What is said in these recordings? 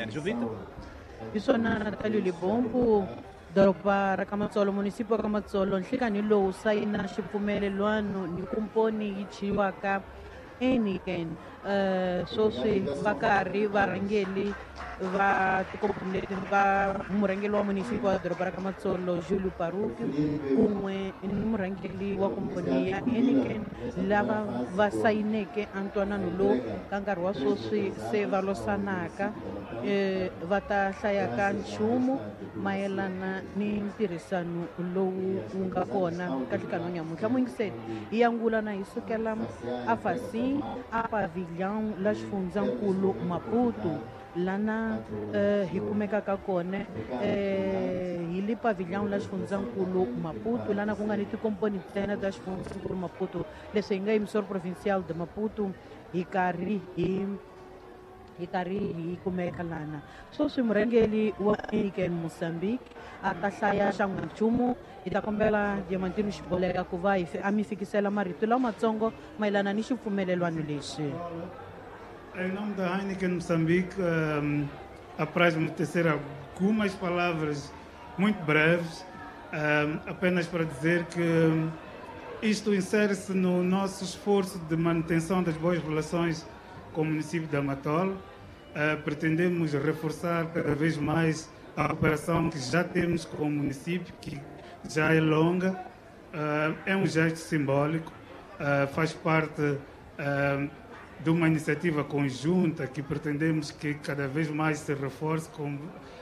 Jovita. Hi swona Natalio Libombo, doroba ra Kamatsolo, munisipio wa Kamatsolo, nhlikani lowu sayina xipfumelelwano ni kumponi yi chiwaka Heineken. Sweswi va karhi varhangeli va tikomponi leti va murhangeri wa munisipio wa doroba ra Kamatsolo Julio Paruki kun'we ni murhangeri wa komponi ya Heineken lava va sayineke ntwanano lowu ka nkarhi wa sweswi se va losanaka, va ta hlayaka nchumu mayelana ni ntirhisano lowu wu nga kona ka nhlikani wa nyamuntlha. Muyingiseli hi angula na hi sukela afasi a pavillon la xifundzankulu Maputo lana hi kumekaka kona, hi le pavillon la xifundzankulu Maputo lana ku nga ni tikomponi ntsena ta xifundzankulu Maputo. Leswi hi nga emissor provincial de Maputo hi karhi hi kumeka lana. Sweswi murhangeri wa Heineken Mozambique a ta hlaya xan'wanchumu. Hi ta kombela Diamantino Xiboleka ku va a mi fikisela marito lamatsongo mayelana ni xipfumelelwano lexi. Em nome da Heineken Moçambique, apraz-me tecer algumas palavras muito breves, apenas para dizer que isto insere-se no nosso esforço de manutenção das boas relações com o município de Amatola. Pretendemos reforçar cada vez mais a cooperação que já temos com o município, que já é longa. É um gesto simbólico, faz parte de uma iniciativa conjunta que pretendemos que cada vez mais se reforce, como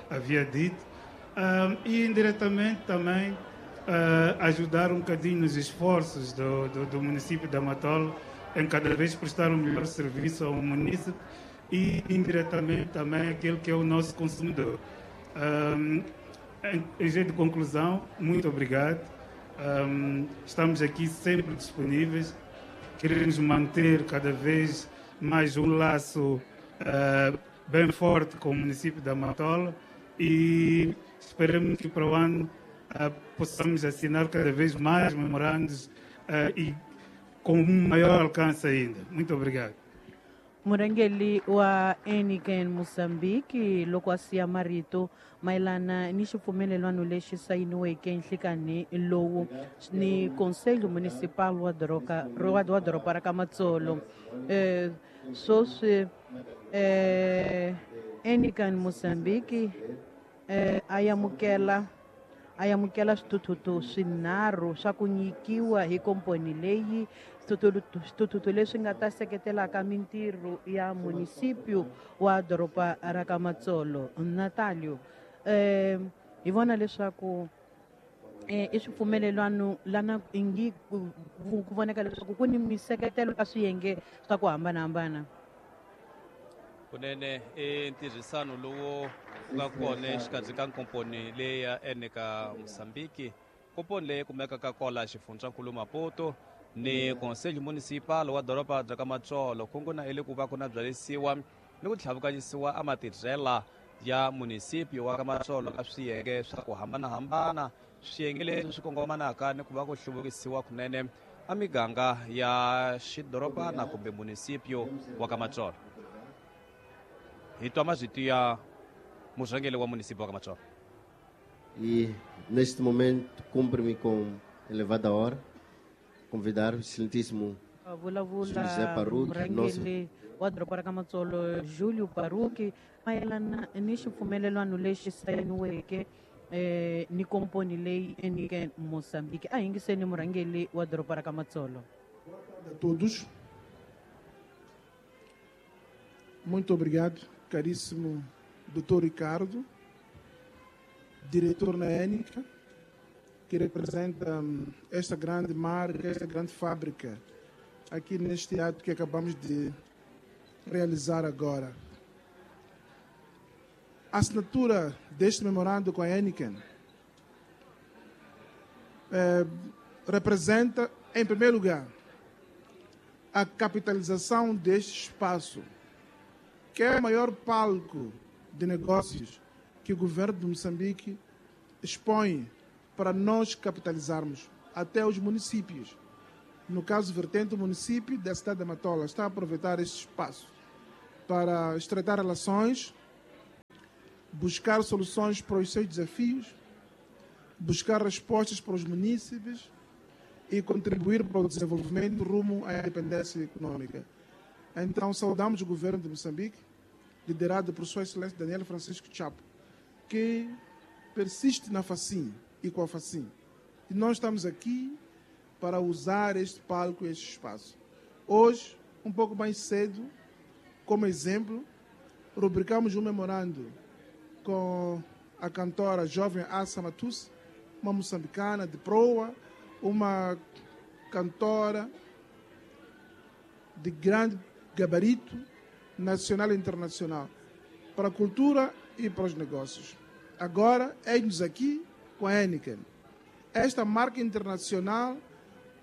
havia dito, e indiretamente também ajudar um bocadinho nos esforços do município de Amatola em cada vez prestar um melhor serviço ao município e indiretamente também aquele que é o nosso consumidor. Em jeito de conclusão, muito obrigado. Estamos aqui sempre disponíveis. Queremos manter cada vez mais um laço bem forte com o município da Matola e esperamos que para o ano possamos assinar cada vez mais memorandos e com um maior alcance ainda. Muito obrigado. Murhangeri wa Heineken Mozambique loko a siya marito mayelana ni xipfumelelwano lexi sayiniweke nhlikani lowu ni Conselho Municipal wa wa doroba ra Kamatsolo. Sweswi Heineken Mozambique a amukela swithuthuthu swinharhu swa ku nyikiwa hi komponi leyi, swithuthuthu leswi nga ta seketelaka mintirho ya munisipio wa doroba ra Kamatsolo. Natalio, hi vona leswaku i swipfumelelwano lana ingi ku voneka leswaku ku ni miseketelo ka swiyenge swa ku hambanahambana. Kunene i ntirhisano lowu nga kona exikarhi ka nkomponi leyi ya Heineken Mozambique, komponi leyi kumekaka kwala xifundzankulu Maputo ni Conselho Municipal wa doroba bya Kamatsolo. Kungu na ile ku va ku na byalisiwa ni ku tlhavukanyisiwa a matirhela ya munisipio wa Kamatsolo ka swiyenge swa ku hambanahambana, swiyenge leswi swi kongomanaka ni ku va ku hluvukisiwa kunene a miganga ya xidorobana kumbe munisipio wa Kamatsolo. Hi twa mazito ya murhangeri wa munisipio wa Kamatsolo. E neste momento cumpre-me com elevada hora convidar o excelentíssimo José Parruque, nosso murhangeri wa doroba ra Kamatsolo Julio Parruque mayelana ni xipfumelelwano lexi sayiniweke ni komponi leyi Heineken Mozambique. A yingiseni murhangeri wa doroba ra Kamatsolo. A todos. Muito obrigado, caríssimo Dr. Ricardo, diretor na Heineken, que representa esta grande marca, esta grande fábrica, aqui neste ato que acabamos de realizar agora. A assinatura deste memorando com a Heineken representa, em primeiro lugar, a capitalização deste espaço, que é o maior palco de negócios que o governo de Moçambique expõe para nós capitalizarmos até os municípios. No caso vertente, o município da cidade de Matola está a aproveitar este espaço para estreitar relações buscar soluções para os seus desafios, buscar respostas para os munícipes e contribuir para o desenvolvimento rumo à independência econômica. Então, saudamos o governo de Moçambique, liderado por Sua Excelência Daniel Francisco Chapo, que persiste na FACIM e com a FACIM. E nós estamos aqui para usar este palco e este espaço. Hoje, um pouco mais cedo, como exemplo, rubricamos um memorando com a cantora jovem Assa Matusse, uma moçambicana de proa, uma cantora de grande gabarito nacional e internacional, para a cultura e para os negócios. Agora, eis-nos aqui com a Heineken, esta marca internacional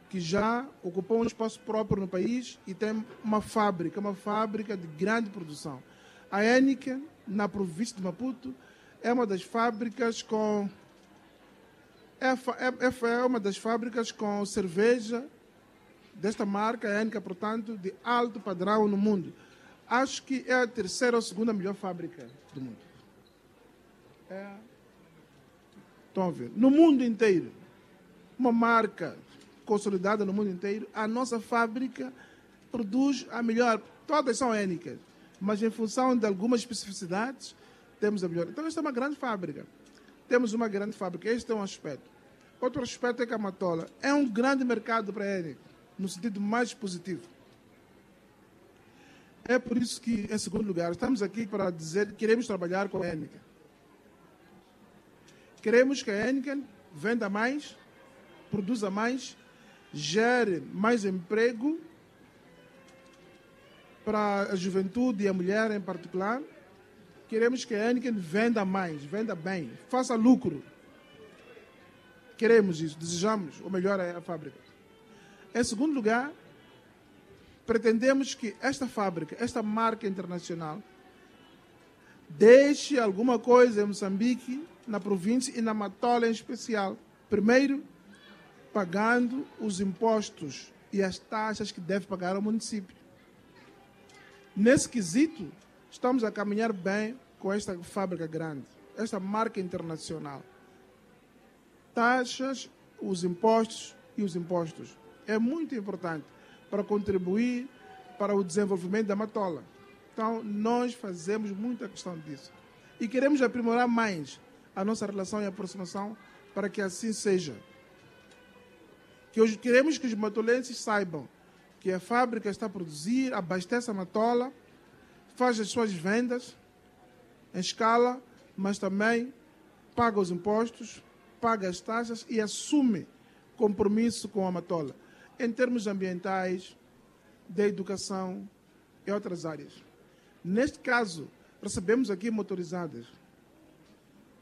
que já ocupou um espaço próprio no país e tem uma fábrica de grande produção. A Heineken, na província de Maputo, é uma das fábricas com é uma das fábricas com cerveja desta marca, a Heineken, portanto, de alto padrão no mundo. Acho que é a terceira ou segunda melhor fábrica do mundo. Estão a ver? No mundo inteiro, uma marca consolidada no mundo inteiro, a nossa fábrica produz a melhor. Todas são Heineken, mas em função de algumas especificidades, temos a melhor. Então, esta é uma grande fábrica. Temos uma grande fábrica. Este é um aspecto. Outro aspecto é que a Matola é um grande mercado para a Heineken, no sentido mais positivo. É por isso que, em segundo lugar, estamos aqui para dizer que queremos trabalhar com a Heineken. Queremos que a Heineken venda mais, produza mais, gere mais emprego para a juventude e a mulher em particular. Queremos que a Heineken venda mais, venda bem, faça lucro. Queremos isso, desejamos o melhor à fábrica. Em segundo lugar, pretendemos que esta fábrica, esta marca internacional, deixe alguma coisa em Moçambique, na província e na Matola em especial. Primeiro, pagando os impostos e as taxas que deve pagar ao município. Nesse quesito, estamos a caminhar bem com esta fábrica grande, esta marca internacional. Taxas, os impostos e os impostos. É muito importante para contribuir para o desenvolvimento da Matola. Então, nós fazemos muita questão disso. E queremos aprimorar mais a nossa relação e aproximação para que assim seja. Que hoje queremos que os matolenses saibam que a fábrica está a produzir, abastece a Matola, faz as suas vendas em escala, mas também paga os impostos, paga as taxas e assume compromisso com a Matola, em termos ambientais, da educação e outras áreas. Neste caso, recebemos aqui motorizadas.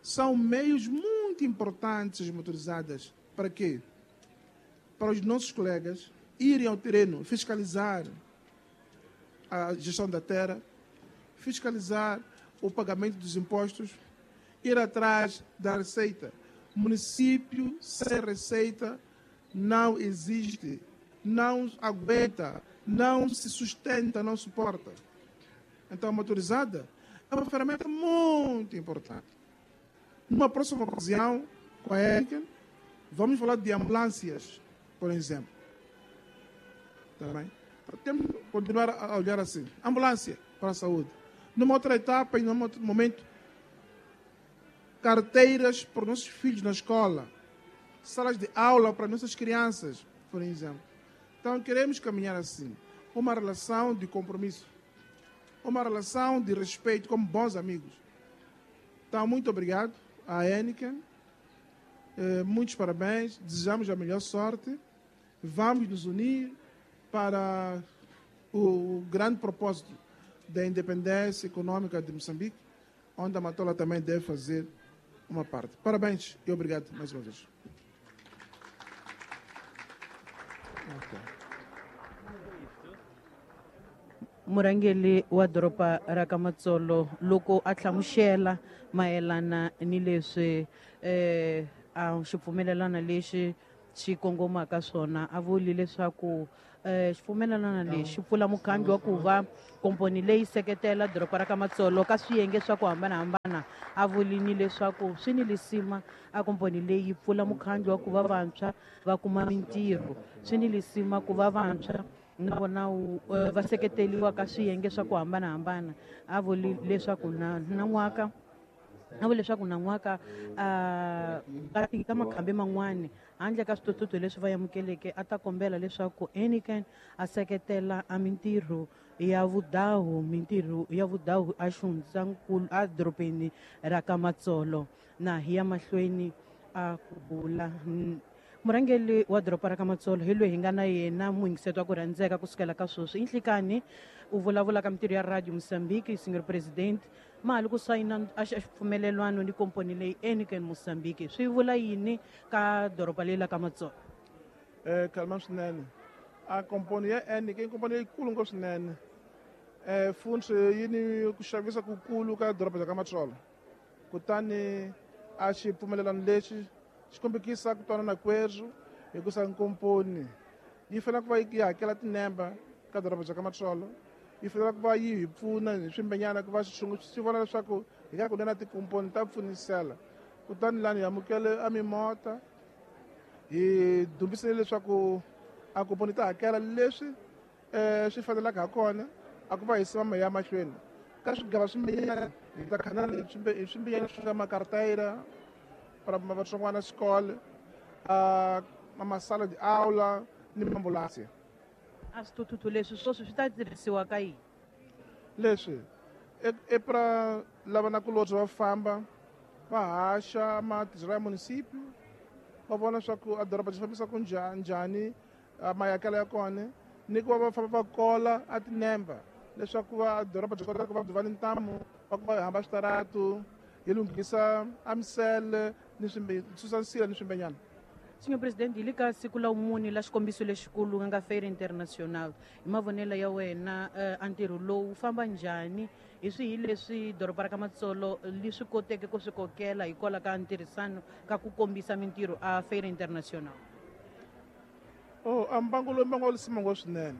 São meios muito importantes as motorizadas. Para quê? Para os nossos colegas irem ao terreno, fiscalizar a gestão da terra, fiscalizar o pagamento dos impostos, ir atrás da receita. Município sem receita não existe, não aguenta, não se sustenta, não suporta. Então, a motorizada é uma ferramenta muito importante. Numa próxima ocasião, com a Heineken, vamos falar de ambulâncias, por exemplo. Tá bem? Temos que continuar a olhar assim. Ambulância para a saúde. Numa outra etapa e num outro momento, carteiras para os nossos filhos na escola, salas de aula para nossas crianças, por exemplo. Então, queremos caminhar assim. Uma relação de compromisso, uma relação de respeito como bons amigos. Então, muito obrigado à Heineken. Muitos parabéns. Desejamos a melhor sorte. Vamos nos unir para o grande propósito da independência econômica de Moçambique, onde a Matola também deve fazer uma parte. Parabéns e obrigado mais uma vez. Okay. Murangeli wa doroba ra ka Matsolo loko a hlamusela mayelana ni leswi a xipfumelelano lexi xi kongomaka swona a vuli leswaku xipfumelelano lexi pfula mukhambi wa ku va komponi leyi seketela doroba ra ka Matsolo ka swiyenge swa ku hambanahambana. kona. A vulini leswaku swi ni lisima a komponi leyi pfula mukhandlu wa ku va vantshwa va kuma mintirho, swi ni lisima ku va vantshwa na vona va seketeriwa ka swiyenge swa ku hambanahambana. A vuli leswaku na nan'waka a vula leswaku nan'waka ka makhambi man'wani handle ka swithuthuthu leswi va amukeleke a ta kombela leswaku Heineken a seketela a mintirho ya vudahu a xifundzankulu a dorobeni ra ka Matsolo. Na hi ya mahlweni a ku bula murhangeri wa doroba ra ka Matsolo hi loyi hi nga na yena muyingiseti wa ku rhandzeka kusukela ka sweswi inhlikani u vulavula ka mintirho ya Radio Mozambique Senior President mali ku sayina a xipfumelelwano ni komponi leyi Heineken Mozambique swi vula yini ka doroba leri la ka Matsolo? Kalma swinene a komponi ya Heineken komponi leyikulu ngopfu swinene futhi yi ni ku xavisa kukulu ka doroba ra ka Matsolo kutani a xipfumelelano lexi xi kombekisa ku twanana kwerhu hikusa nkomponi yi fanele ku va yi hakela tinemba ka doroba bya ka Matsolo, yi fanele ku va yi hi pfuna hi swimbenyana ku va swi vona leswaku hi ka kunene tikomponi ta pfunisela. Kutani lani hi amukele a mimota hi dumbisile leswaku a komponi ta hakela leswi swi fanelaka ha kona a ku va hi sima ya mahlweni ka swigava swimbenyana hi ta khanana hi swimbenyana swi nga makartayira para vatsongwana xikolo a masala de aula ni ambulance. A swithuthuthu leswi swoswi swi ta tirhisiwa ka yini? Leswi e pra lava na kulobye va famba va haxa matirhelo ya municipio va vona leswaku a doroba byi fambisa ku njhani mayakelo ya kona ni ku va va famba va kola a tinemba leswaku va doroba byi kota ku va byi va ni ntamu va ku va hamba switaratu hi lunghisa a misele ni susa nsila ni swimbenyana. Senhor Presidente, hi le ka siku la vumune la xikombiso lexikulu nga Feira Internacional, hi mavonelo ya wena a ntirho lowu famba njhani? Hi swihi leswi doroba ra ka Matsolo li swi koteke ku swi kokela hikwalaho ka ntirhisano ka ku kombisa mintirho a Feira Internacional? A mbangu lowu mbangu wa lisima ngopfu swinene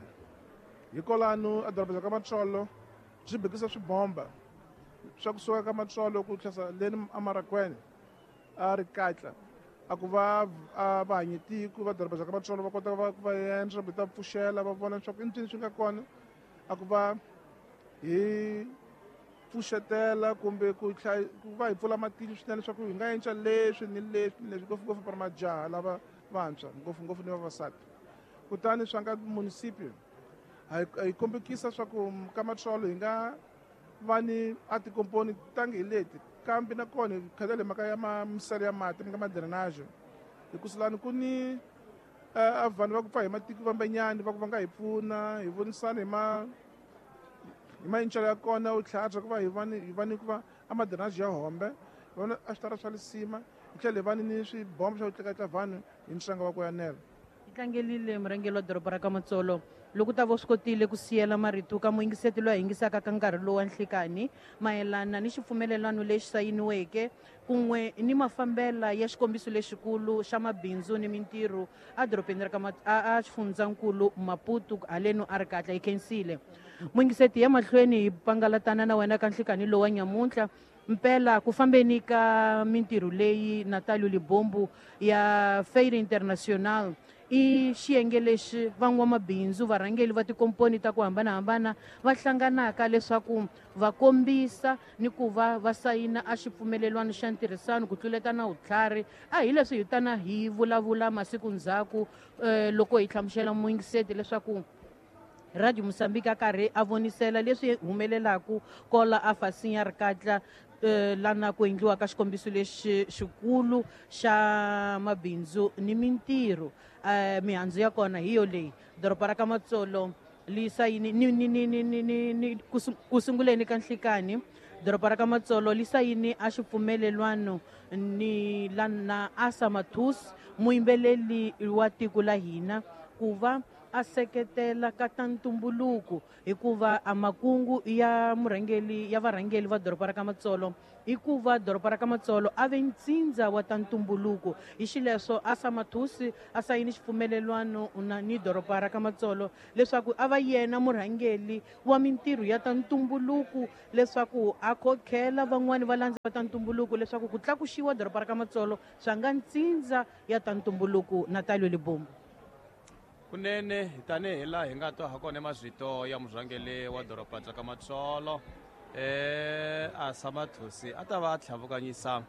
hikwalano a doroba bya ka Matsolo byi bekisa swibomba swa kusuka ka Matsolo ku tlhasa leni eMarakwene a ri katla a ku va vahanyetiko va doroba bya ka Matsolo va kota ku va endla va ta pfuxela va vona leswaku i ncini swi nga kona a ku va hi pfuxetela kumbe ku va hi pfula matihlo swinene leswaku hi nga endla leswi ni leswi ni leswi ngopfungopfu para majaha lava vantshwa ngopfungopfu ni vavasati. Kutani swa nga municipio hi kombekisa swa ku ka Matsolo hi nga va ni a tikomponi tangi hi leti kambe na kona hi khatele mhaka ya misele ya mati mi nga ma-drainage hikusa lani ku ni a vanhu va ku pfa hi matiko vambenyani va ku va nga hi pfuna hi vonisana hi mayincelo ya kona u tlhava ku va hi va ni ku va a ma-drainage ya hombe hi vona a switara swa lisima hi tlhela hi va ni swibombo swa ku tleketla vanhu hi ntsengo wa ku yanela. Hi tlangelile murhangeri wa doroba ra ka Matsolo loko ta vo swi kotile ku siyela marito ka muyingiseti loyi a yingisaka ka nkarhi lowu wa nhlikani mayelana ni xipfumelelano lexi sayiniweke kun'we ni mafambela ya xikombiso lexikulu xa mabindzu ni mintirho a dorobeni ra ka a xifundzankulu Maputo haleno a ri katla hi khensile. Muyingiseti ya mahlweni hi pangalatana na wena ka nhlikani lowu wa nyamuntlha mpela ku fambeni ka mintirho leyi Natalio Libombo ya Feira Internacional i xiyenge lexi van'wamabindzu varhangeri va tikomponi ta ku hambanahambana va hlanganaka leswaku va kombisa ni ku va va sayina a xipfumelelwano xa ntirhisano ku tluleta na vutlhari. A hi leswi hi tana hi vulavula masiku ndzhaku loko hi hlamusela muyingiseti leswaku Radio Mozambique a karhi a vonisela leswi humelelaku kola a fasinya ri katla lana ku endliwa ka xikombiso lexi xikulu xa mabindzu ni mintirho. Mihandzu ya kona hi yo leyi doroba ra ka Matsolo li sayini ni ku sunguleni ka nhlikani doroba ra ka Matsolo li sayini a xipfumelelwano ni lana Asa Mathus muyimbeleli wa tiko la hina ku va a seketela ka ta ntumbuluko hikuva a makungu ya murhangeli ya varhangeli va doroba ra ka Matsolo hikuva doroba ra ka Matsolo a ve ntsindza wa ta ntumbuluko. Hi xileswo Asa Mathusi a sayini xipfumelelwano na ni doroba ra ka Matsolo leswaku a va yena murhangeli wa mintirho ya ta ntumbuluko leswaku a khokhela van'wani va landza va ta ntumbuluko leswaku ku tlakuxiwa doroba ra ka Matsolo swa nga ntsindza ya ta ntumbuluko. Natalio Libombo. Kunene tanihi laha hi nga twa hakona mazvito ya murhangeli wa doroba bya ka Matsolo Asa Mathusi a ta va a tlhavukanyisa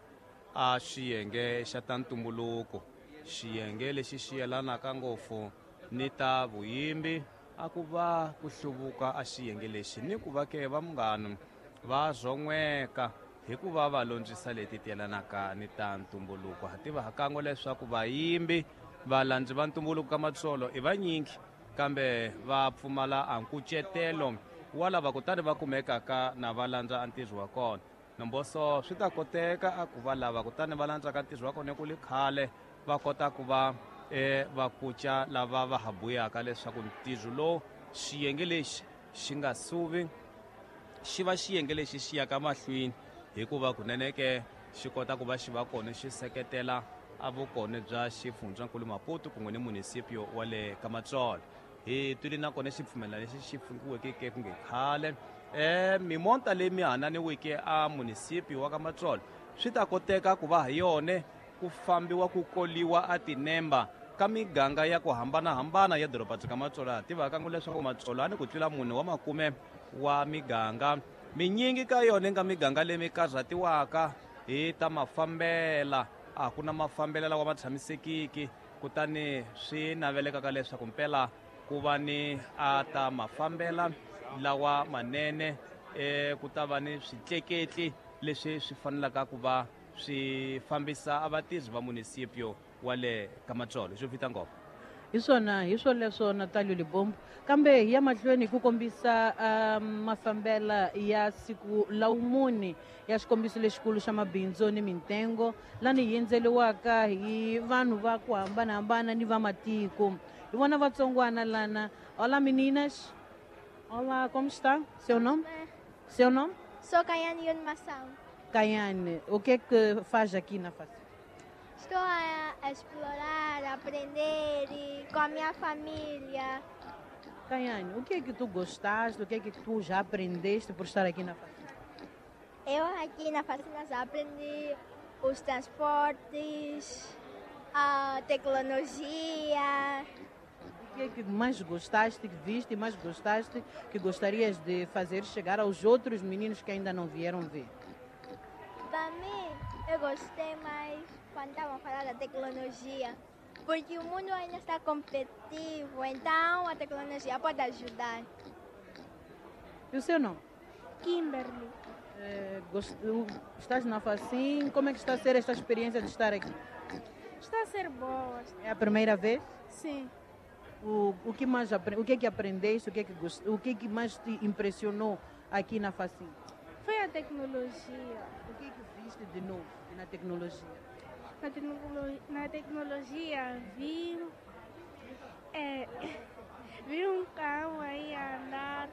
a xiyenge xa ta ntumbuluko, xiyenge lexi xi yelanaka ngopfu ni ta vuyimbi, a ku va ku hluvuka a xiyenge lexi ni ku va ke va munghana va zon'weka hikuva va londzisa leti ti yelanaka ni ta ntumbuluko. Ha tiva hakan'we leswaku vayimbi valandzi va ntumbuluko ka Matsolo i vanyingi kambe va pfumala a nkucetelo wa lava kutani va kumekaka na va landza a ntirho wa kona. Nomboso swi ta koteka a ku va lava kutani va landzaka ntirho wa kona ku li khale va kota ku va va kuca lava va ha buyaka leswaku ntirho lowu xiyenge lexi xi nga suvi xi va xiyenge lexi xi yaka mahlweni hikuva kunene ke xi kota ku va xi va kona xi seketela a vukona bya xifundzankulu Maputo kun'we ni munisipio wa le ka Matsolo. Hi twile nakona xipfumelelano lexi xi fungiweke ke ku nge khale mimonta leyi mi hananiweke a munisipio wa ka Matsolo swi ta koteka ku va ha yone ku fambiwa ku koliwa a tinemba ka miganga ya ku hambanahambana ya doroba bya ka Matsolo. Ha tivaka ngo leswaku Matsolo a ni ku tlula 4 wa makume wa miganga, minyingi ka yona nga miganga leyi mi karhatiwaka hi ta mafambela, a ku na mafambelo lawa ma tshamisekiki, kutani swi navelekaka leswaku mpela ku va ni a ta mafambela lawa manene, ku ta va ni switleketli leswi swi fanelaka ku va swi fambisa a vatirhi va munisipio wa le ka Matsolo. Xo fita ngopfu hi swona, hi swoleswo Natalio Libombo. Kambe hi ya mahlweni hi ku kombisa mafambela ya siku la wumune ya xikombiso lexikulu xa mabindzu ni mintengo lani hi endzeliwaka hi vanhu va ku hambanahambana ni va matiko. Hi vona vatsongwana lana. Olá meninas. Olá, como está? Seu nome? Seu nome? Sou Kayane Yunmassam. Kayane, o que é que faz aqui na Facim? Estou a explorar, a aprender e com a minha família. Kayane, o que é que tu gostaste, o que é que tu já aprendeste por estar aqui na Facim? Eu aqui na Facim já aprendi os transportes, a tecnologia. O que é que mais gostaste, que viste e mais gostaste, que gostarias de fazer chegar aos outros meninos que ainda não vieram ver? Para mim, eu gostei mais quando estavam a falar da tecnologia, porque o mundo ainda está competitivo, então a tecnologia pode ajudar. E o seu nome? Kimberly. Estás na Facim, como é que está a ser esta experiência de estar aqui? Está a ser boa. É a primeira vez? Sim. O que mais o que é que aprendeste, o que é que mais te impressionou aqui na Facim? Foi a tecnologia. O que é que viste de novo na tecnologia? Na tecnologia vi um carro aí a andar,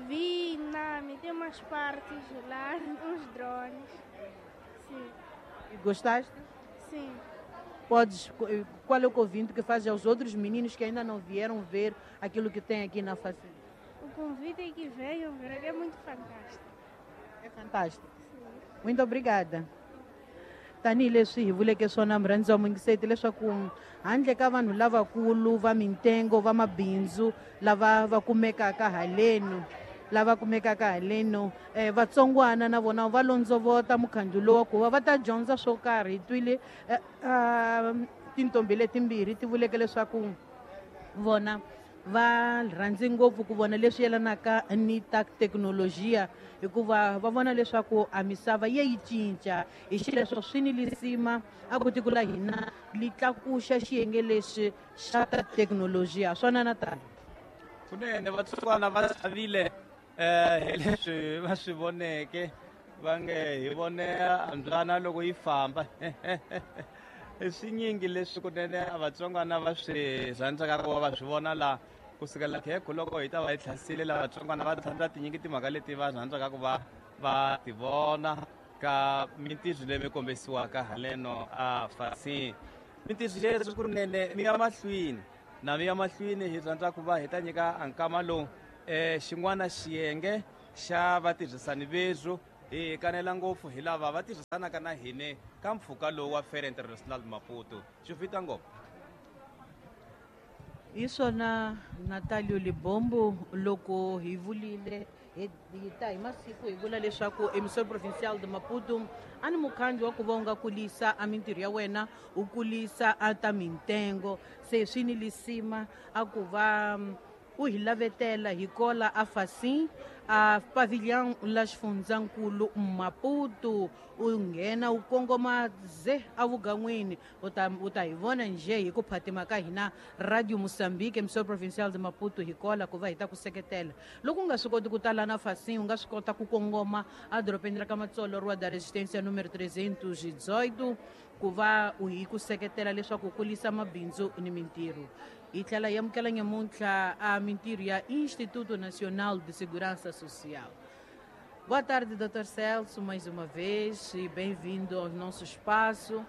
vi tem umas partes lá, uns drones. Sim. E gostaste? Sim. Qual é o convite que faz aos outros meninos que ainda não vieram ver aquilo que tem aqui na Facim? O convite é que venham ver, é muito fantástico. É fantástico. Sim. Muito obrigada. Tanihi leswi hi vuleke swona murhandzi wa muyingiseti leswaku handle ka vanhu lavakulu va mintengo va mabindzu lava va kumekaka haleno vatsongwana na vona va londzovota mukhandlu lowa ku va va ta dyondza swo karhi. Hi twile tintombi letimbirhi ti vuleke leswaku vona va rhandzi ngopfu ku vona leswi yelanaka ni ta thekinolojiya hikuva va vona leswaku a misava ya yi cinca. Hi xileswo swi ni lisima a ku tiko la hina li tlakuxa xiyenge lexi xa ta thekinolojiya. Swona na tani kunene vatsongwana va chavile hi leswi va swi voneke, va nge hi vone mbyana loko yi famba. Swinyingi leswi kunene a vatsongwana va swi rhandzaka ku va va swi vona la Kusukela khekho loko hi ta va hi tlhasile lavatsongwana va rhandza tinyingi timhaka leti va rhandzaka ku va va ti vona ka mintirho leyi mi kombisiwaka haleno a Facim. Mintirho leswi ku ri nene mi ya mahlweni na mi ya mahlweni hi rhandza ku va hi ta nyika nkama lowu xin'wana xiyenge xa vatirhisani veswo hi kanela ngopfu hi lava va tirhisanaka na hine ka mpfhuka lowu wa Feira Internacional Maputo. Xi fita ngopfu. Hi swona Natalio Libombo loko hi vulile hi ta hi masiku hi vula leswaku Emissão Provincial de Maputo a ni mukhandlu wa ku va u nga kulisa a mintirho ya wena u kulisa a ta mintengo se swi ni lisima a ku va u hi lavetela hi kola a Facim a pavilhão la xifundzankulu Maputo u nghena u kongoma ze avugan'wini u ta hi vona njhe hi ku phatima ka hina Radio Moçambique Emissão Provincial de Maputo hi kola ku va hi ta ku seketela. Loko u nga swi koti ku tala na Facim u nga swi kota ku kongoma edorobeni ra ka Matsolo Rua da Resistência número 318 ku va u hi ku seketela leswaku u kulisa mabindzu ni mintirho. Hi tlhela hi amukela nyamuntlha a mintirho ya Instituto Nacional de Segurança Social. Boa tarde, Dr. Celso, mais uma vez, e bem-vindo ao nosso espaço.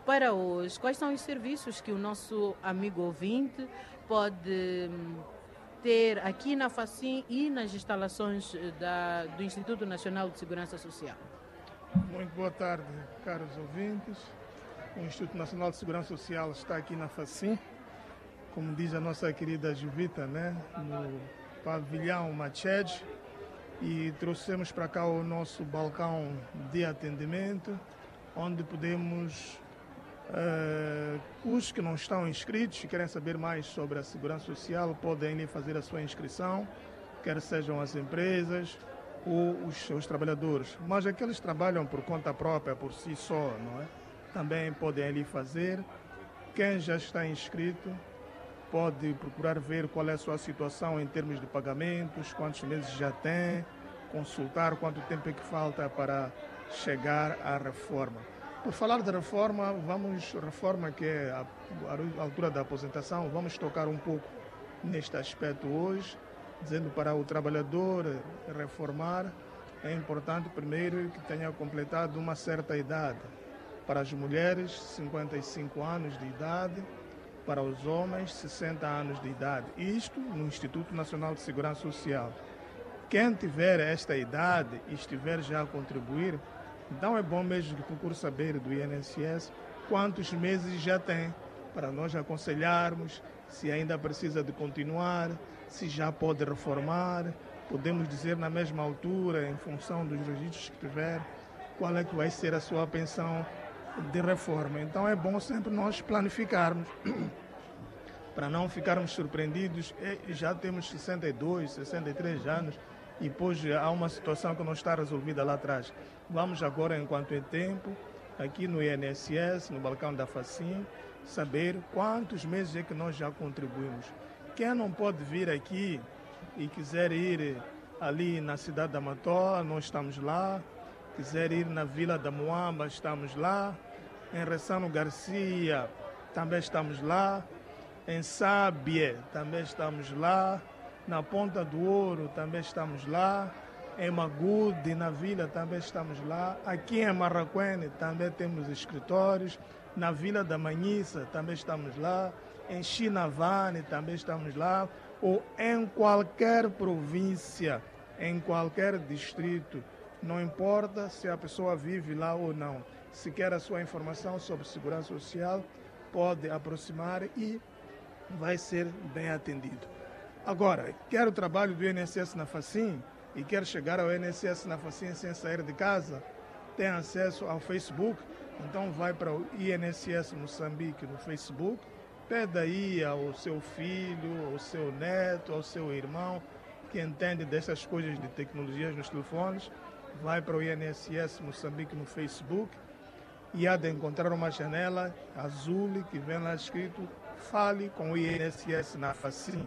Para hoje, quais são os serviços que o nosso amigo ouvinte pode ter aqui na Facim e nas instalações do Instituto Nacional de Segurança Social? Muito boa tarde, caros ouvintes. O Instituto Nacional de Segurança Social está aqui na Facim, como diz a nossa querida Juvita, né? No pavilhão Machede. E trouxemos para cá o nosso balcão de atendimento, onde podemos, os que não estão inscritos e querem saber mais sobre a segurança social, podem ir fazer a sua inscrição, quer sejam as empresas ou os seus trabalhadores. Mas aqueles que trabalham por conta própria, por si só, não é? Também podem ali fazer. Quem já está inscrito pode procurar ver qual é a sua situação em termos de pagamentos, quantos meses já tem, consultar quanto tempo é que falta para chegar à reforma. Por falar de reforma, reforma que é a altura da aposentação, vamos tocar um pouco neste aspecto hoje, dizendo para o trabalhador reformar, é importante primeiro que tenha completado uma certa idade. Para as mulheres, 55 anos de idade, para os homens, 60 anos de idade. Isto no Instituto Nacional de Segurança Social. Quem tiver esta idade e estiver já a contribuir, então é bom mesmo que procure saber do INSS quantos meses já tem, para nós aconselharmos se ainda precisa de continuar, se já pode reformar. Podemos dizer na mesma altura, em função dos registros que tiver, qual é que vai ser a sua pensão de reforma. Então é bom sempre nós planificarmos, para não ficarmos surpreendidos. Já temos 62, 63 anos e depois há uma situação que não está resolvida lá atrás. Vamos agora, enquanto é tempo, aqui no INSS, no balcão da Facim, saber quantos meses é que nós já contribuímos. Quem não pode vir aqui e quiser ir ali na cidade da Matola, nós estamos lá. Quiser ir na Vila da Moamba, estamos lá. Em Ressano Garcia, também estamos lá. Em Sábia, também estamos lá. Na Ponta do Ouro, também estamos lá. Em Magude, na Vila, também estamos lá. Aqui em Marraquene, também temos escritórios. Na Vila da Manhissa, também estamos lá. Em Chinavane, também estamos lá. Ou em qualquer província, em qualquer distrito. Não importa se a pessoa vive lá ou não. Se quer a sua informação sobre segurança social, pode aproximar e vai ser bem atendido. Agora, quer o trabalho do INSS na Facim e quer chegar ao INSS na Facim sem sair de casa, tem acesso ao Facebook, então vai para o INSS Moçambique no Facebook, pede aí ao seu filho, ao seu neto, ao seu irmão, que entende dessas coisas de tecnologias nos telefones, vai para o INSS Moçambique no Facebook e há de encontrar uma janela azul que vem lá escrito "Fale com o INSS na Facim".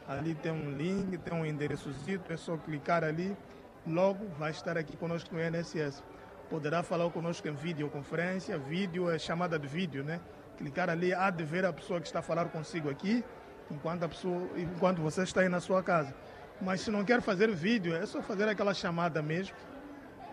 Ali tem um link, tem um endereçozito, é só clicar ali, logo vai estar aqui conosco no INSS. Poderá falar conosco em videoconferência, vídeo é chamada de vídeo, né? Clicar ali, há de ver a pessoa que está a falar consigo aqui enquanto você está aí na sua casa. Mas se não quer fazer vídeo, é só fazer aquela chamada mesmo,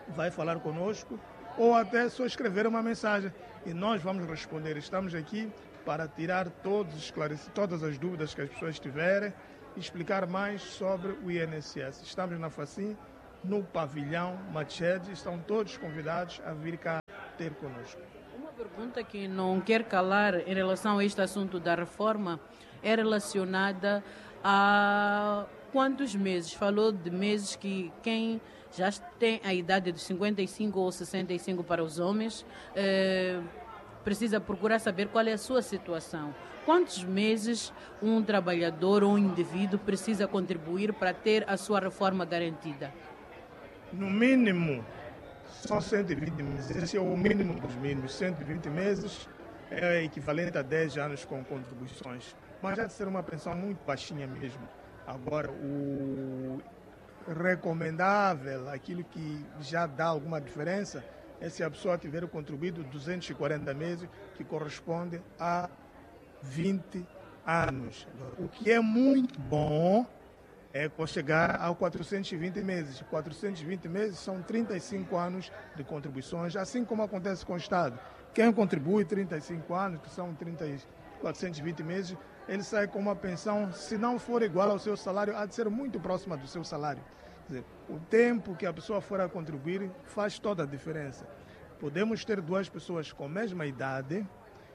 vai falar conosco, ou até só escrever uma mensagem e nós vamos responder. Estamos aqui para tirar todas as dúvidas que as pessoas tiverem e explicar mais sobre o INSS. Estamos na Facim, no pavilhão Machete, estão todos convidados a vir cá ter conosco. Uma pergunta que não quer calar em relação a este assunto da reforma é relacionada a quantos meses? Falou de meses que quem já tem a idade de 55 ou 65 para os homens, precisa procurar saber qual é a sua situação. Quantos meses um trabalhador ou um indivíduo precisa contribuir para ter a sua reforma garantida? No mínimo, são 120 meses. Esse é o mínimo dos mínimos. 120 meses é equivalente a 10 anos com contribuições. Mas já de ser uma pensão muito baixinha mesmo. Agora, o recomendável, aquilo que já dá alguma diferença, é se a pessoa tiver contribuído 240 meses, que corresponde a 20 anos. O que é muito bom é chegar a 420 meses. 420 meses são 35 anos de contribuições, assim como acontece com o Estado. Quem contribui 35 anos, que são 420 meses, ele sai com uma pensão, se não for igual ao seu salário, há de ser muito próxima do seu salário. Quer dizer, o tempo que a pessoa for a contribuir faz toda a diferença. Podemos ter duas pessoas com a mesma idade,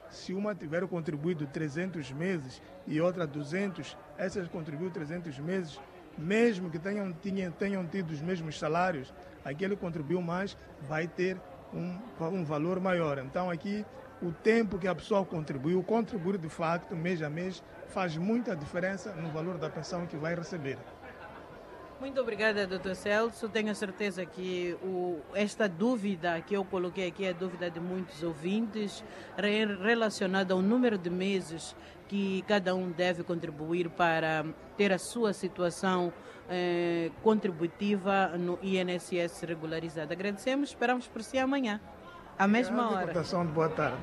se uma tiver contribuído 300 meses e outra 200, essa contribuiu 300 meses, mesmo que tenham tido os mesmos salários, aquele que contribuiu mais vai ter um valor maior. Então aqui, o tempo que a pessoa contribuiu, contribuir de facto, mês a mês, faz muita diferença no valor da pensão que vai receber. Muito obrigada, Dr. Celso. Tenho a certeza que esta dúvida que eu coloquei aqui é a dúvida de muitos ouvintes, relacionada ao número de meses que cada um deve contribuir para ter a sua situação contributiva no INSS regularizada. Agradecemos, esperamos por si amanhã, à mesma hora. Boa tarde.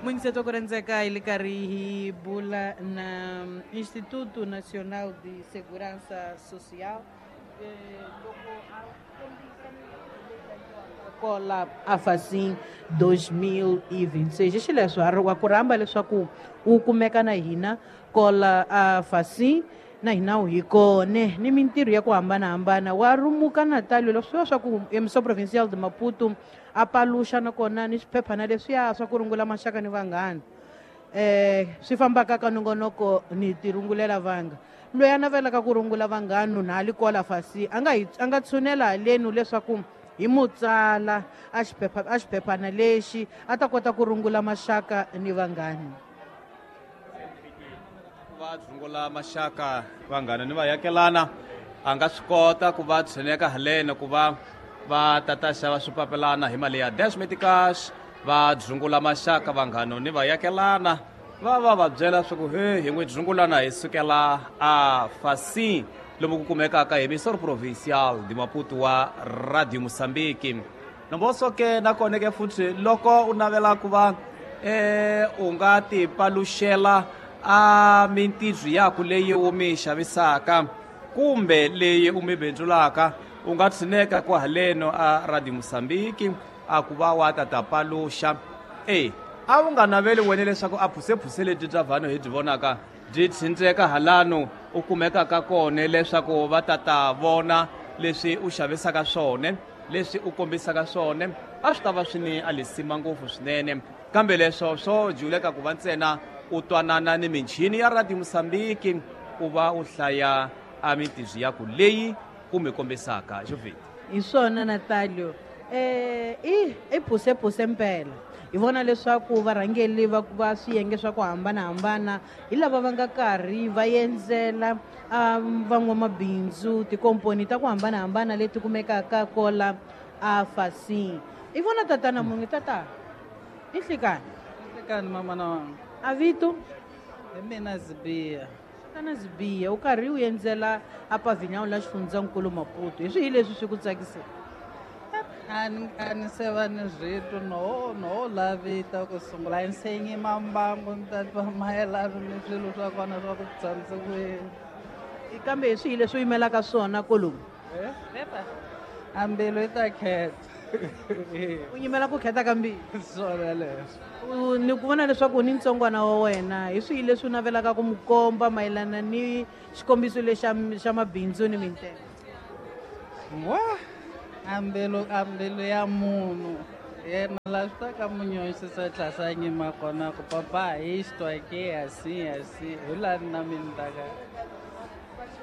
Muito setor Koranzaka Ilikarihi Bula na Instituto Nacional de Segurança Social. Cola Afacim 2026. Xileswo a ku rhamba leswaku u kumeka na hina kola Afacim na hina hi kone ni mintirho ya ku hambanahambana wa rumuka Natalio leswiya swa ku emissão provincial de Maputo a paluxa nakona ni swiphephana leswiya swa ku rungula maxaka ni vanghana swi fambaka ka nongonoko ni ti rungulela vanga loyi a navelaka ku rungula vanghana na ali kola fasi a nga tshunela halenu leswaku hi mutsala a xiphephana lexi a ta kota ku rungula maxaka ni vanghana. Va rungula maxaka vanghana ni vayakelana a nga swi kota ku va tshuneka haleni ku va va tata xava swipapelana hi mali ya Dash Medicash va dzungula maxaka vanghano ni vayakelana va va va byela swa ku he hi n'wi dzungulana hi sukela a Facim lomu ku kumekaka hi emissor provincial de Maputo wa Radio Moçambique. Nomboso ke nakona ke futhi loko u navela ku va u nga ti paluxela a mintirho yaku leyi u mi xavisaka kumbe leyi u mi bindzulaka u nga tshineka ku haleno a Radio Moçambique a ku va wa tata paluxa. A wu nga naveli wena leswaku a phusephuse lebyi bya vanhu hi byi vonaka byi tshindzeka halano u kumekaka kona leswaku va tata vona leswi u xavisaka swona leswi u kombisaka swona a swi ta va swi ni alisima ngopfu swinene kambe leswo swo juleka ku va ntsena u twanana ni michini ya Radio Moçambique u va u hlaya a mintirho yaku leyi u mi kombisaka Jovita. Hi swona Natalio, i phusephuse mpela hi vona leswaku varhangeli va swiyenge swa ku hambanahambana hi lava va nga karhi va endzela van'wamabindzu tikomponi ta ku hambanahambana leti kumekaka kola a Facim. I vona tatana munhu tata i nhlikani? Nhlikani mama na wanga. A vito? Hi mina Zibia. Tatana Zibia u karhi u endzela a pavilhão la xifundzankulu Maputo. Hi swihi leswi swi ku tsakiseke? A ni se va ni rito no lavita ku sungula ni se nyima mbangu ni ta twa mayelana ni swilo swa kona swa ku tshamisa ku yini. Kambe hi swihi leswi u yimelaka swona kolomu? A mbilu yi ta khetha. U yimela ku khetha ka mbilu? Swona leswo. Ni ku vona leswaku ni ntsongwana wa wena, hi swihi leswi u navelaka ku mu komba mayelana ni xikombiso lexi xa mabindzu ni mintengo? Wa a mbilu ya munhu yena la swi ta ka munyoxisa tlhasa nyima kona ku papa isto aqui assim assim hi laha na mina ta ka.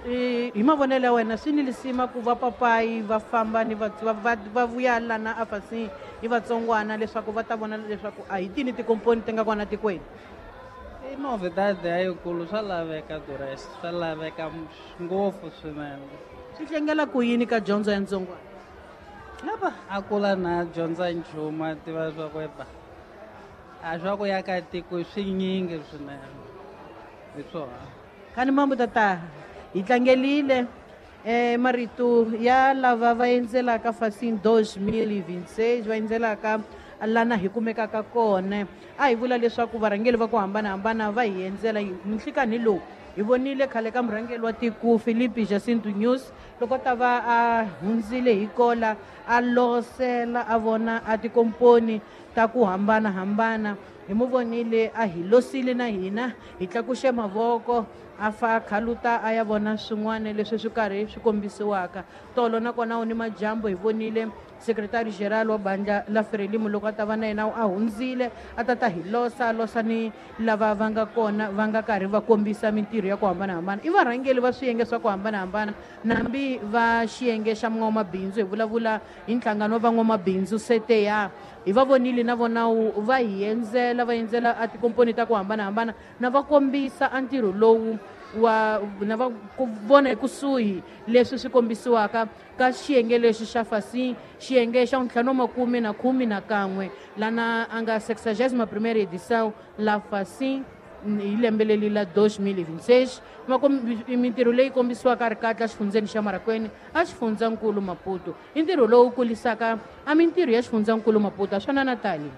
Hi mavonelo ya wena swi ni lisima ku va papayi va famba ni va vuya lana a fasi hi vatsongwana leswaku va ta vona leswaku a hi tini tikomponi ti nga kona tikweni? I novidade yikulu, swa laveka duress, swa laveka ngopfu swinene. Swi tlangela ku yini ka dyondzo ya ntsongwana? Lapa a kula na dyondza nchumu a tiva swa ku epa a swa ku ya ka tiko swinyingi swinene hi swona. Khani mambo tata hi tlangelile marito ya lava va endzelaka Facim 2026 va endzelaka lana hi kumekaka kona. A hi vula leswaku varhangeri va ku hambanahambana va hi endzela nhlikani lowu. Hi vonile khale ka murhangeri wa tiko Filipe Jacinto Nyusi loko ta va a hundzile hi kola a losela a vona a tikomponi ta ku hambanahambana. Hi mu vonile a hi losile na hina hi tlakuxe mavoko a fa khaluta a ya vona swin'wana leswi swi karhi swi kombisiwaka. Tolo nakona u ni majambu hi vonile secretary general wa bandla la Frelimo loko a ta va na yena a hundzile a ta ta hi losa losa ni lava va nga kona va nga karhi va kombisa mintirho ya ku hambanahambana. I varhangeri va swiyenge swa ku hambanahambana nambi va xiyenge xa n'wamabindzu, hi vulavula hi nhlangano wa van'wamabindzu CTA. Hi va vonile na vona va hi endzela va endzela a tikomponi ta ku hambanahambana na va kombisa a ntirho lowu wa na va ku vona ekusuhi leswi swi kombisiwaka ka xiyenge lexi xa Facim, xiyenge xa 511 lana a nga 61ª edição la Facim hi lembe leri la 2026. Mintirho leyi kombisiwaka ri katla xifundzeni xa Marracuene a xifundzankulu Maputo. I ntirho lowu kulisaka a mintirho ya xifundzankulu Maputo a swana na tali.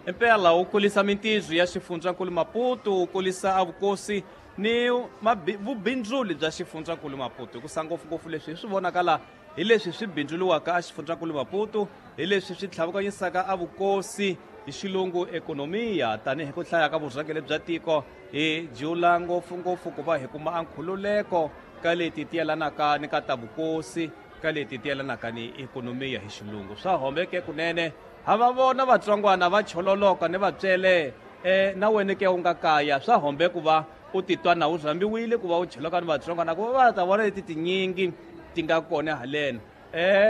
Impela wu kulisa mintirho ya xifundzankulu Maputo, wu kulisa a vukosi ni vubindzuli bya xifundzankulu Maputo. Hikusa ngopfungopfu leswi hi swi vonakala hi leswi swi bindzuliwaka a xifundzankulu Maputo, hi leswi swi tlhavukanyisaka a vukosi hi xilungu ekonomiya. Tanihi ku hlaya ka vurhangeri bya tiko hi jula ngopfungopfu ku va hi kuma a nkhululeko ka leti ti yelanaka ni ka ta vukosi, ka leti ti yelanaka ni ekonomiya hi xilungu. Swa hombeke kunene ha va vona vatsongwana va chololoka ni vatswele na wena ke u nga kaya. Swa hombe ku va u titwa na u rhambiwile ku va u choloka ni vatsongwana ku va va ta vona leti tinyingi ti nga kona haleni.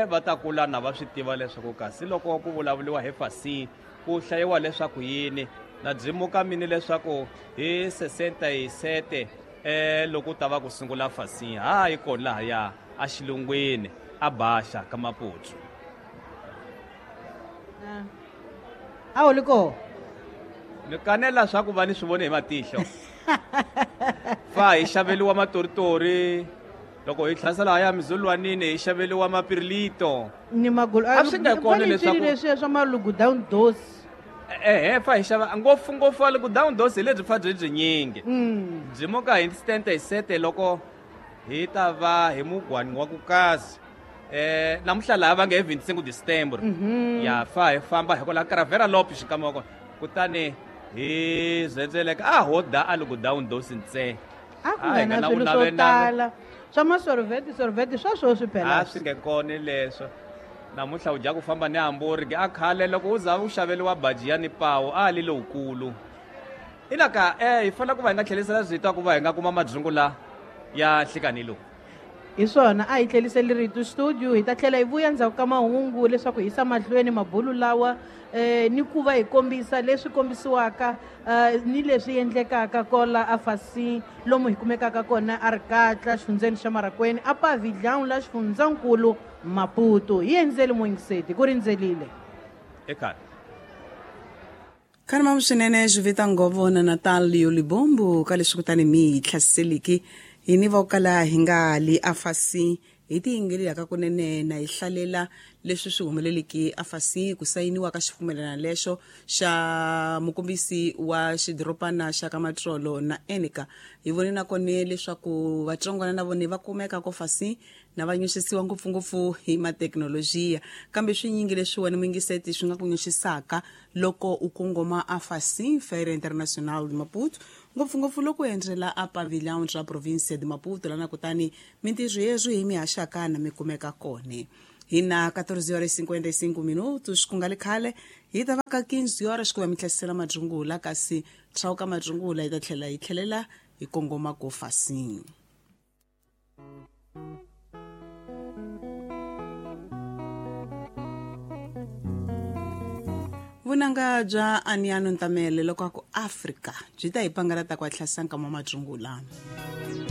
Va ta kula na va swi tiva leswaku kasi loko ku vulavuriwa hi Facim ku hlayiwa leswaku yini. Na byimuka mini leswaku hi 67 loko ta va ku sungula Facim ha yi kona lahaya a xilungwini a Baxa ka Maputo. A wu li koho? Ni kanela swa ku va ni swi vone hi matihlo. Fa hi xaveliwa matoritori loko hi tlhasela haya mizulwanini hi xaveliwa mapirilito. Ni magulu. A swi nga kona leswaku leswi swa malugu down dose. Fa hi xava ngopfungopfu a lugu down dose hi lebyi fa byi byinyingi. Byi muka hi 77 loko hi ta va hi mugwani wa ku kasi. Namuntlha laha va nge hi 25 December. Ya fa hi famba hi kwala Caravera Lopes xikan'we wa kona. Kutani hi zendzeleka a ho da a lugu down dose ntsena. A ku nga na swilo swo tala swa masorveti sorveti swa sweswi phela. A swi nge kona leswo. Namuntlha u dya ku famba ni hamburger a khale loko u za u xaveliwa baji ya ni pawu a li lowukulu. Inaka hi fanele ku va hi nga tlhelisela rito ku va hi nga kuma madzungu la ya nhlikani lowu. Hi swona a hi tlheliseli rito studio hi ta tlhela hi vuya ndzhaku ka mahungu leswaku hi yisa mahlweni mabulu lawa ni ku va hi kombisa leswi kombisiwaka ni leswi endlekaka kola a Facim lomu hi kumekaka kona a Rikatla xifundzeni xa Marracuene a Pavilhão la xifundzankulu Maputo. Hi endzeli Moingiseti ku rindzelile. Ekhaya. Khani mamu swinene Juvita Ngovo na Natalio Libombo ka leswi kutani mi hi tlhasiseliki hi ni vo kala hi nga li a Facim Hi tiyingelelaka kunene na hi hlalela leswi swi humeleleke afasi ku sayiniwa ka xipfumelana lexo xa mukombisi wa xidorobana xa ka Matsolo na Enika. Hi vone na kone leswaku vatsongwana na vone va kumeka ko fasi na va nyuxisiwa ngopfungopfu hi mathekinolojiya, kambe swinyingi leswiwani muyingiseti swi nga ku nyuxisaka loko u kongoma afasi Feira Internacional de Maputo, ngopfungopfu loko u endzela a pavilhão ra província de Maputo lana, kutani mintirho yeswi hi mihaxaka na mi kumeka kone. Hi na 14 horas 55 minutos, ku nga li khale hi ta va ka 15 horas ku va mi tlhesela madzungula, kasi tshawuka madzungula hi ta tlhela hi tlhelela hi kongoma ko fasini. Vunanga bya Aniano Ntamele loko a ku Afrika byi ta hi pangalata ku hatlisa nkama wa madzungula.